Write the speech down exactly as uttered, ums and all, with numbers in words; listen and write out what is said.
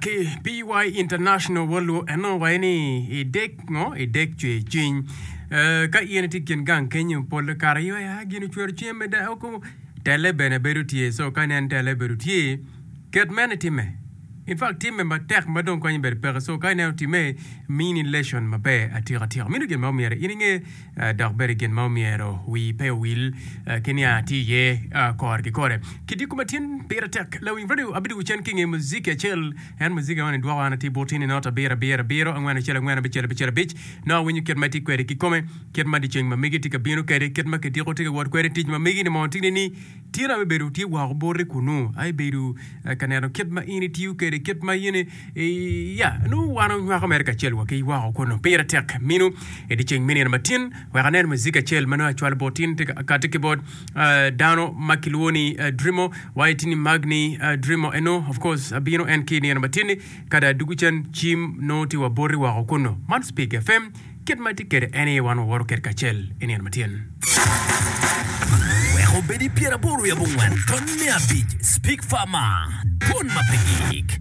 Ki P Y International Woluo eno waye ni idek ngo idek cwer cwiny. Eh, ka in itye kin gang kenyo, pol kare iyo ya gin ocwero cwinye meda oko tele bene bedo tye. So ka inen tele bedo tye, ket mene time. In fact, time matek ma dong konyo bedo peke. So ka ineno time, mini lesson maber atika tika. Mino gin ma omyero in inge, eh, dok bene gin ma omyero wi pe owil eh, ki nia tye iye eh, kore ki kore. Kidiko matin pire tek lawiny radio abidugo cen ki nge muziki acel. En muziki man idwoko an ati butini not abiro abiro abiro angwen acel angwen abicel abicel abic. No awinyo kit ma itye kwede kikome, kit ma dyeceng ma megi tye ka bino kwede, kit ma kidiko tye ka wot kwede, tic ma megi ni mo tye ni tye abe bedo tye woko boti kunu ai bedo eh, ka neno kit ma in itiyo kwede, kit ma in i- ya nu wan onywako mere kacel wa ki woko kunu. Pire tek minu i dyeceng me nino matin. Wek anen muziki acel ma nongo acwalo bot tin tye ka kati ki bot eh, dano ma kilwongo ni eh, Drimo wa itini Magni eh, Drimo eno. Of course, abino en ki nino matin kada dugu cen cim nongo tye wa boti woko kunu. Man Speak F M, kit ma tye kwede en aye wan wawoto kwede kacel i nino matin. Wek obedi pyeraboro wiye abongwen ton me abic. Speak Farmer, dwon ma pe gik.